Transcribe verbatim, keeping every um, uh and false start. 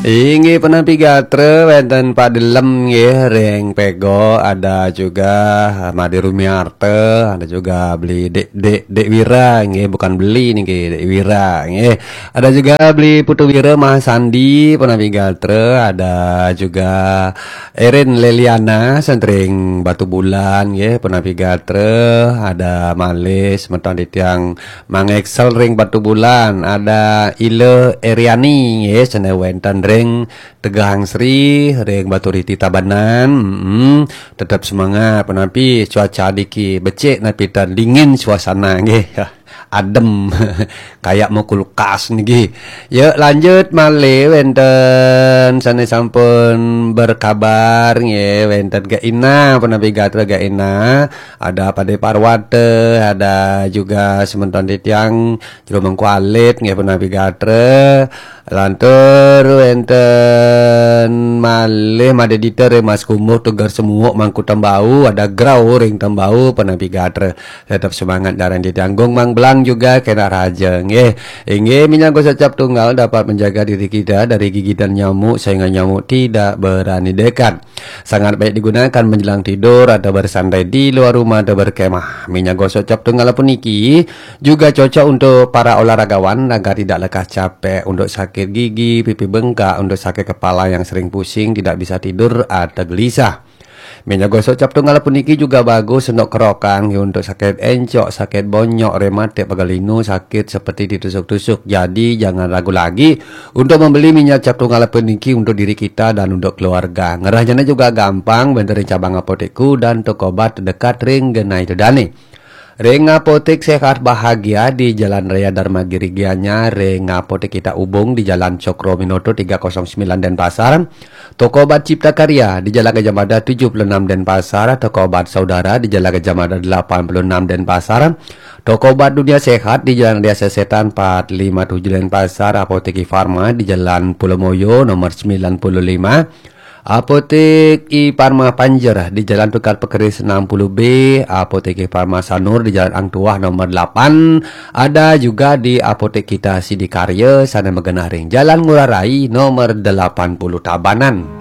Inggih, penapi gatra, wénten Pak Delem nggih, ring Pego, ada juga Made Rumiarte, ada juga beli Dek, Dek, Dek Wira nggih, bukan beli niki, Dek Wira nggih. Ada juga beli Putu Wira Mahasandi, penapi gatra, ada juga Erin Leliana, sentring Batu Bulan nggih, penapi gatra, ada malih semeton titiang Mang Excel ring Batu Bulan, ada Ile Eriani nggih, sane wénten ring Tegahang Sri, ring Batu Riti Tabanan. Mm, tetap semangat, penapi cuaca niki becik, napi tan dingin suasana nggih. Adem, kayak mau kulkas niki. Ya, lanjut malih, wénten sane sampun berkabar nggih, wénten Gak Ina, penapi gatra Gak Ina, ada Pade Parwata, ada juga semeton titiang Jero Mangku Alit nggih, penapi gatra. Lantur wénten malih Made Dita ring Mas Kumuh, Tegar Semuuk, Mangku Tembau, ada Grau ring Tembau, penapi gatra. Tetap semangat, daran ditanggung. Mang Belang juga kena raja nggih. Inggih, minyak gosok cap tunggal dapat menjaga diri kita dari gigitan nyamuk sehingga nyamuk tidak berani dekat. Sangat baik digunakan menjelang tidur atau bersantai di luar rumah atau berkemah. Minyak gosok cap tunggal puniki juga cocok untuk para olahragawan agar tidak lekas capek, untuk sakit gigi, pipi bengkak, untuk sakit kepala yang sering pusing, tidak bisa tidur atau gelisah. Minyak gosok cap tunggal puniki juga bagus untuk kerokan, untuk sakit encok, sakit bonyok, rematik, pegal linu, sakit seperti ditusuk-tusuk. Jadi jangan ragu lagi untuk membeli minyak cap tunggal puniki untuk diri kita dan untuk keluarga. Ngerahnya juga gampang, wénten ring cabang apotek dan toko obat terdekat ring genah ida dane. Ring Apotek Sehat Bahagia di Jalan Raya Dharma Giri Gianyar, ring Apotek Kita Ubung di Jalan Cokroaminoto tiga kosong sembilan Denpasar, toko obat Cipta Karya di Jalan Gajah Mada tujuh puluh enam Denpasar, toko obat Saudara di Jalan Gajah Mada delapan puluh enam Denpasar, toko obat Dunia Sehat di Jalan Raya Sesetan empat lima tujuh Denpasar, Apotek Farma di Jalan Pulau Moyo nomor sembilan puluh lima, Apotek I Parma Panjer di Jalan Tukad Pekeris enam puluh B, Apotek I Parma Sanur di Jalan Ang Tuah nomor delapan, ada juga di Apotek Kita Sidikarya, sane magenah ring Jalan Ngurah Rai nomor delapan puluh Tabanan.